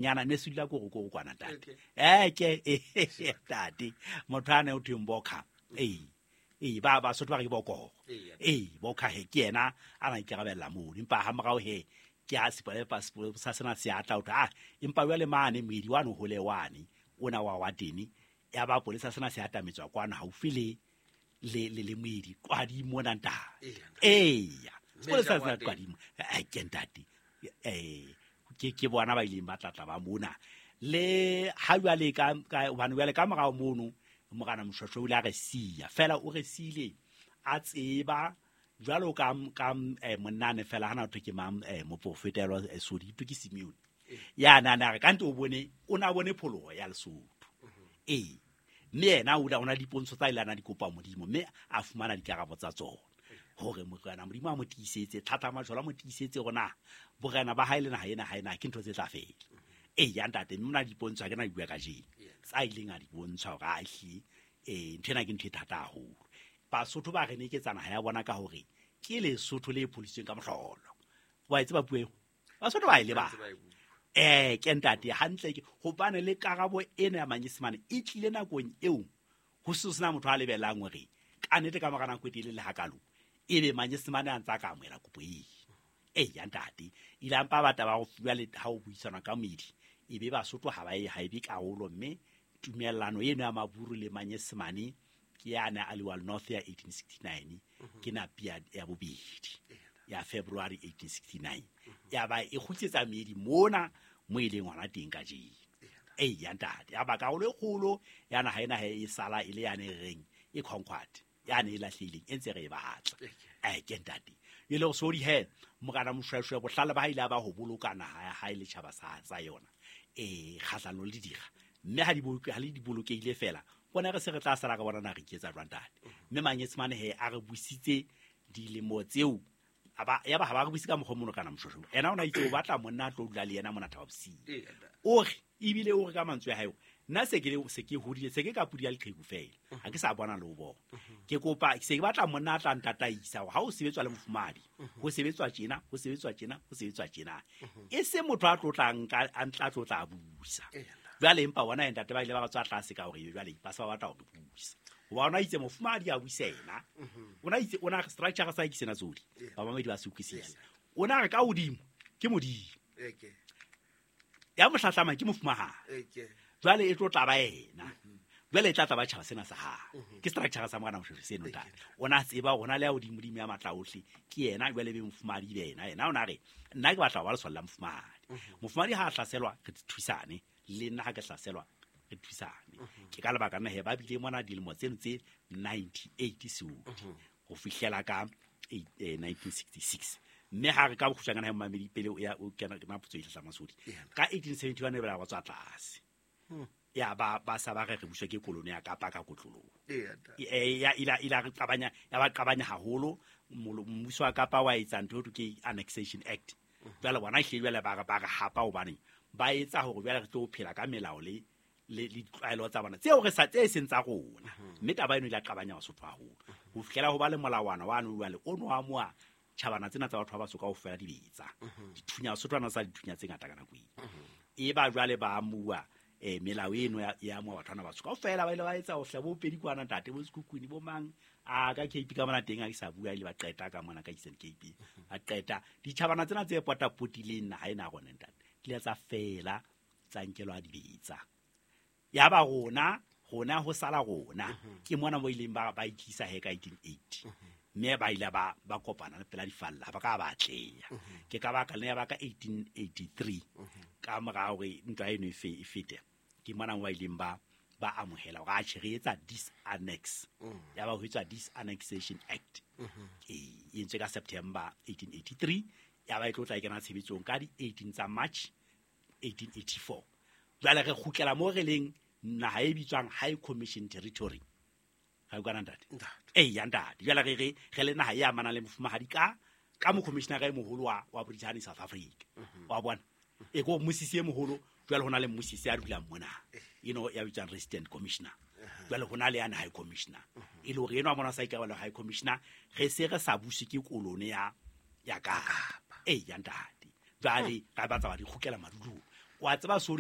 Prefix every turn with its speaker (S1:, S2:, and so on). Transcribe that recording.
S1: Nyana ne se dula ko go kwana ntate. Eke ntate motho a ne o thweng Bokha. Ee ba Basotho ba re ke Bokogo. Ee Bokha he ke yena a na ikarabella mono, empa ha morao he ke a sepolesa sa sena se atla o thwe, empa jwale mane moedi wane hole wane ona wa wa tene ya ba polesa sena se atametswa kwana haufi le le moedi qwadi mona ntate. Eya sepolesa sena qwadi ke ntate. Ke bona ba ileng ba tlatla ba mona le ha jwale ka hobane jwale ka morao mono Morena Moshoeshoe o ile a re siya fela, o re siile a tseba jwalo ka monnane fela hana thwe ke mang moprofeta Sodi ke Simeone ya na na re kante o bone o na bone pholoho ya Lesotho. Ee mme yena o na dipontsho tsa ile ana di kopa Modimo mme a fumana dikarabo tsa tsona hore Morena Modimo a mo tiisetse thata majolo a mo tiisetse hore na borena ba hae le naha ena ha ena ke ntho tse tla fela. Ee ya ntate mme mona dipontsho ha ke na di bua kajeno tsa ileng a di bontsha hore a ehlile ntho ena ke ntho e thata haholo. Basotho ba re neketsa naha ya bona ka hore ke Lesotho le pholisitsweng ka mohlolo. Wa e tseba puo eo? Basotho ba e lebala. Ke ntate hantle ke hobane le karabo ena ya Manyesemane e tlile nakong eo ho se sena motho a lebelang hore ka nnete ka mora nako e telele hakalo ebe Manyesemane a ntsa ka amohela kopo eo. Ee ya ntate ile a mpa batla ba go fuwa le ha o buisana ka moedi ebe Basotho ha ba e ha ebe karolo mme tumellano eno ya Maburu le Manyesemane ke ya na Aliwal North ya 1869 ke napi ya bobedi ya February 1869 ya ba e kgutlisetsa meedi mona mo e leng hona teng kajeno. Ee ya ntate ya ba karolo e kgolo ya naha ena e sala e le yane e reng e conquered yane e lahlehileng e ntse re e batla. Ke ntate e le hore sodi he Morena Moshoeshoe bohlale ba hae ile a ba ho boloka naha ya hae le tjhaba sa yona kgahlanong le dira mme ha di ha le di bolokehile fela bona re se re tla sala re bona na re iketsa jwang ntate. Mme Manyesemane he a re busitse dilemo tseo ya ba ha ba re buise ka mokgwa mono kana Moshoeshoe ena o na itse o batla monna a tlo dula le yena mona Thaba Bosiu. O re ebile o re ka mantswe a hae nna se ke hodile se ke ka pudi ya leqheku fela ha ke sa bona le ho bona. Ke kopa se ke batla monna a tla ntataisa hore ha o sebetswa le mofumahadi ho sebetswa tjena ho sebetswa tjena ho sebetswa tjena e se motho a tlotlang ka a ntla tlotla a busa. Jwale empa bona ntate ba ile ba tswa tlase ka hore jwale ba sa batla hore busa. Hoba ona itse mofumahadi a busa yena. Ona itse ona structure sa ke sena tsodi. Ba mamedi ba se utlwisisa. Ona re ka hodimo ke Modimo. Ya mohlahlama ke mofumahadi. Jwale e tlo tla ba yena. Jwale e tla tla ba tjhaba sena sa hae. Ke structure sa Morena Moshoeshoe seno ntate. Ona tseba hore na le ya hodimo Modimo ya matla ohle ke yena jwale be mofumahadi be yena. Yena ona re nna ke batla ho ba lesole la mofumahadi. Mofumahadi ha a hlaselwa re thusane le nna ha ke hlaselwa re thusane. Ke ka lebaka nna he ba bile mona dilemo tseno tse 98 seodi ho fihlela ka 1966. Mme ha re ka bokgutshwanyane ha mamedi pele ya o kena ke mapotso e hlahlamang sodi. Ka 1871 e ba tswa tlase. Ya ba sa ba re re buswa ke kolone ya Kapa ka kotloloho. Ya ila re qabanya ya ba qabanya haholo mmuso wa Kapa wa etsa ntho e ke Annexation Act. Jwale bona ehlile jwale ba re hapa hobane ba etsa hore jwale re tlo phela ka melao le ditlwaelo tsa bona tseo re sa tse seng tsa rona. Mme taba eno ile ya qabanya Basotho haholo ho fihlela ho ba le molawana wa no jwale o no amoha tjhabana tsena tsa batho ba baso kaofela dibetsa. Dithunya Basotho ba na sa dithunya tse ngata ka nako eo. E ba jwale ba amuwa melao eno ya amuwa batho bana baso kaofela ba ile ba etsa ho hla bo pedi kwana ntate bo Sekhukhune bo mang a ka KP ka mona teng ha ke sa bua ile ba qeta ka mona ka Eastern Cape ba qeta ditjhabana tsena tse potapotileng naha ena rona ntate di ile tsa fela tsa nkelwa dibetsa. Ya ba rona ho sala rona ke mona mo ileng ba itlisa he ka 1880 mme ba ile ba kopana le pela difalla ba ka ba atleha. Ke ka baka le ya ba ka 1883 ka mora hore ntwa eno e fete ke mona mo ba ileng ba amohela hore a tjhe re etsa disannex. Ya ba ho etswa Disannexation Act e entswe ka September 1883 ya ba e tlo tla e kena tshebetsong ka di 18 tsa March 1884. Jwale re kgutlela mo re leng naha e bitswang High Commission Territory. Ga o kana ntate? Ee ya ntate. Jwale re le naha e amanang le mofumahadi ka mocommissioner e moholo wa British South Africa. Wa bona? E ko mmusisi e moholo jwale hona le mmusisi a dulang mona. Eno ya bitswang Resident Commissioner. Jwale hona le yana High Commissioner. E le hore eno a mona sa ikarabela High Commissioner re se re sa buse ke kolone ya Kapa. Ee ya ntate. Jwale ra batla ba di kgutlela madulong. Wa tseba sori.